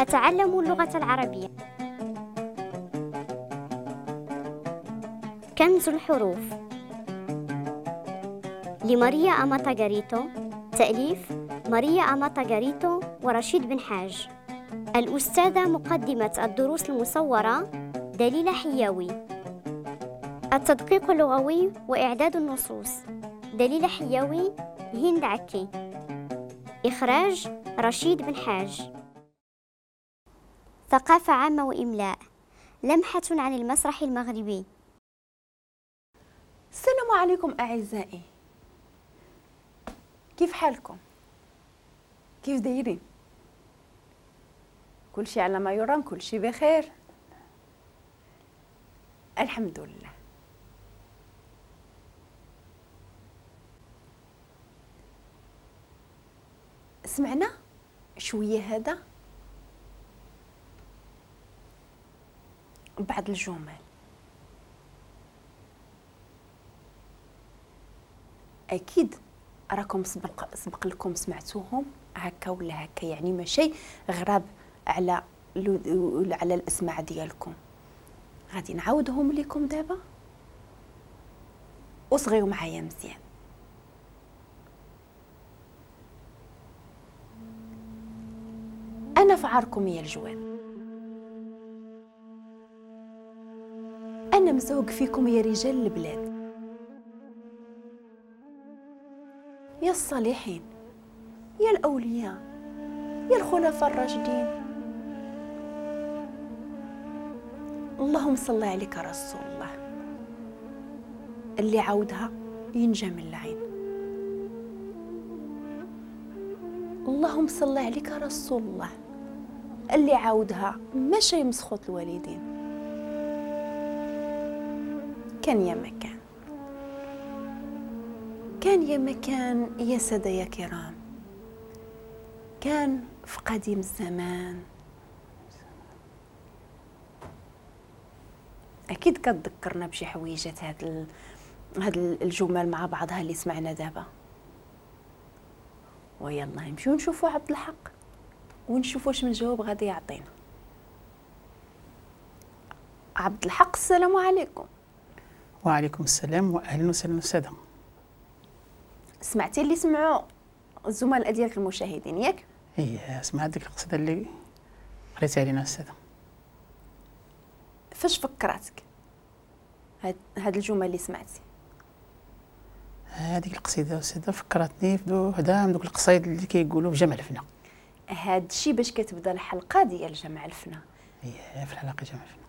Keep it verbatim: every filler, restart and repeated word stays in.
أتعلم اللغة العربية. كنز الحروف لماريا أماتاغاريتو، تأليف ماريا أماتاغاريتو ورشيد بن حاج. الأستاذة مقدمة الدروس المصورة دليلة حياوي. التدقيق اللغوي وإعداد النصوص دليلة حياوي، هند عكي. إخراج رشيد بن حاج. ثقافة عامة وإملاء، لمحة عن المسرح المغربي. السلام عليكم أعزائي، كيف حالكم؟ كيف دايرين؟ كل شيء على ما يرام، كل شيء بخير الحمد لله. سمعنا شوية هذا بعض الجمل، أكيد راكم سبق, سبق لكم سمعتوهم هكا ولا هكا، يعني ماشي غراب على على الاسماع ديالكم. غادي نعاودهم لكم دابا وصغيو معايا مزيان. انا فعاركم يا الجواد، انا مزوق فيكم يا رجال البلاد، يا الصالحين، يا الاولياء، يا الخلفاء الراشدين. اللهم صل عليك رسول الله. اللي عاودها ينجى من العين. اللهم صل عليك رسول الله. اللي عاودها ماشي مسخوط الوالدين. كان يا مكان، كان يا مكان يا سادة يا كرام، كان في قديم الزمان. اكيد كتذكرنا بشي حويجات هاد ال... هاد الجمل مع بعضها اللي سمعنا دابا. ويلا نمشيو نشوفوا عبد الحق ونشوفوا واش من جواب غادي يعطينا. عبد الحق السلام عليكم. وعليكم السلام واهلا وسهلا السادة. سمعتي اللي سمعوا الزملاء ديالك المشاهدين ياك؟ ايه سمعت ديك القصيدة اللي قريتها علينا السادة. فاش فكراتك هاد هاد الجمل اللي سمعتي؟ هذيك القصيدة السادة فكرتني في وحده من دوك القصايد اللي كيقولوا في جمع الفنا. هاد الشيء باش كتبدا الحلقة ديال جمع الفنا. ايه في الحلقة جمع الفنا.